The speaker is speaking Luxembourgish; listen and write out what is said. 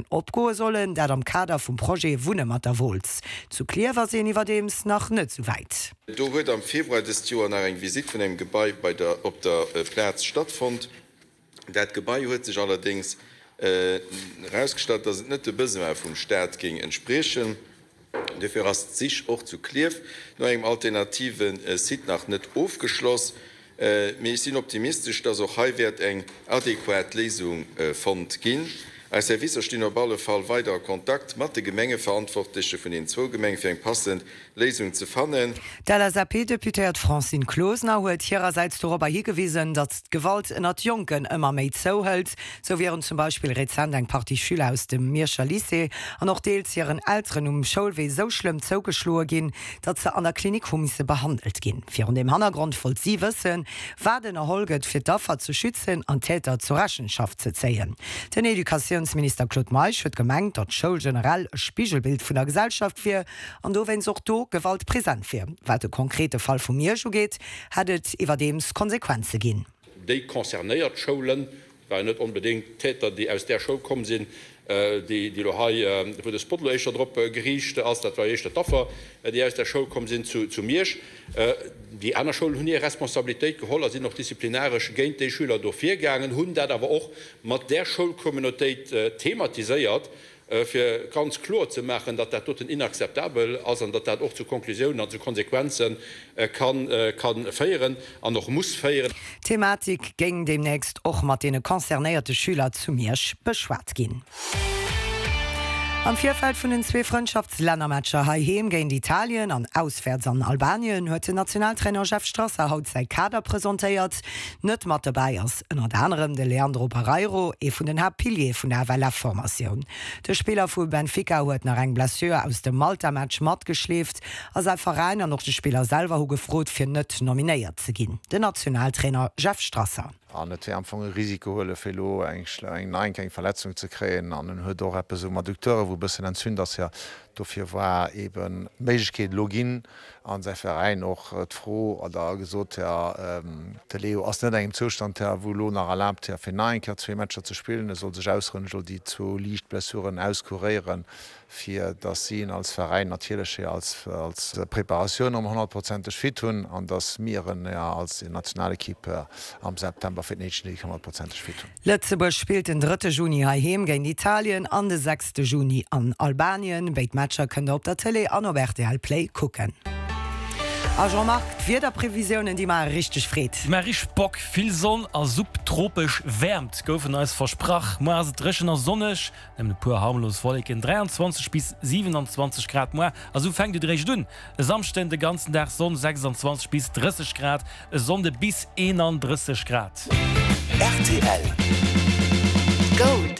Opgoe sollen, dat am Kader vum Projet Wunne mat der Wooltz. Zu Klierf ass een iwwerdeems nach net sou wäit. Do huet am Februar dëst Joer nach eng Visitt vun engem Gebai bei der op der Plaz stattfonnt. Dat Gebai huet sech allerdéngs erausgestallt, datt et net de Besoin vum Staat géing entspriechen. Dofir ass d'Sich och zu Klierf no engem alternative Site nach net ofgeschloss. Mee ech sinn optimistesch, dass och hei wäert eng adequat Léisung fonnt ginn. Eis Servicer stinn op alle Fall weider a Kontakt mat de Gemengeverantwortleche vun den zwou Gemenge fir eng passend Léisung ze fannen. D'LSAP-Deputéiert Francine Closener huet hirersäits dorobber higewisen, datt d'Gewalt ënnert Jonken ëmmer méi zouhëlt. Sou wieren zum Beispill rezent eng Partie Schüler aus dem Mierscher Lycée an och deels hiren Elteren um Schoulwee sou schlëmm zougeschloe ginn, datt se an der Klinik hu misse behandelt ginn. Virun deem Hannergrond wollt si wëssen, wat ënnerholl gëtt, fir d'Affer ze schützen an d'Täter zur Rechenschaft ze zéien. Den Educatiounsminister Claude Meisch huet gemengt, datt d'Schoul generell e Spigelbild vun der Gesellschaft wier an dowéinst och do Gewalt present wier. Wat de konkrete Fall vu Miersch ugeet, hätt et iwwerdeems Konsequenze ginn. Déi concernéiert Schoulen, et waren net onbedéngt d'Täter, déi aus där Schoul komm sinn, déi elo hei, wou de Spot elo éischter drop geriicht ass, dat war jo éischter d'Affer, déi aus där Schoul komm sinn zu Miersch. Déi aner Schoulen hunn hir Responsabilitéit geholl a sinn och disziplinaresch géint déi Schüler do virgaangen, hunn dat awer och mat där Schoulcommunautéit thematiséiert, fir ganz kloer ze maachen, datt dat doten inakzeptabel ass an datt dat och zu Konklusiounen an zu Konsequenze ka féieren an och muss féieren. D'Thematik géing deemnächst och mat deene concernéierte Schüler zu Miersch beschwat ginn. Am Virfeld vun den zwee Frëndschaftslännermatcher heiheem géint Italien an auswäerts an Albanien huet den Nationaltrainer Jeff Strasser haut säi Kader presentéiert. Net mat dobäi ass ënnert anerem de Leandro Barreiro, ee vun den Haaptpiliere vun der FLF-Formatioun. De Spiller vu Benfica huet nach eng Blessure aus dem Malta-Match matgeschleeft a säi Veräin an och de Spiller selwer hu gefrot, fir net nominéiert ze ginn. Den Nationaltrainer Jeff Strasser. An et wär am Fong e Risiko huele fir elo eng eng eng Verletzung ze kréien. An en huet och eppes um Adducteure wou e bëssen entzünt ass. Jo, dofir war eeben d'Méiglechkeet elo ginn, An säi Veräin och d'Fro oder gesot, jo, de Leo ass net an engem Zoustand, wou elo nach erlaabt, fir nach eng Kéier zwee Matcher ze spillen. E soll sech ausrouen, e soll déi zwou liicht Blessuren auskuréieren, fir datt si en als Veräin natierlech als Preparatioun erëm honnertprozenteg fit hunn an datt mir en als Nationalekipp am September fir d'Nations League honnertprozenteg fit hunn. Lëtzebuerg spillt den drëtte Juni heiheem géint Italien an de sechste Juni an Albanien. Béid Matcher kënnt der op der Tëlee an op rtl Play kucken. A Jean-Marc, d'Wiederprevisiounen déi maache richteg Freed. Déi maache richteg Bock. Vill Sonn a subtropesch Wäermt goufen eis versprach. Muer ass et dréchen a sonneg, nëmmen e puer harmlos Wolleken, 23 bis 27 Grad muer. A sou fänkt et eréischt un. E Samschden de ganzen Dag Sonn, 26 bis 30 Grad, e Sonnde bis 31 Grad. Rtl. Gold.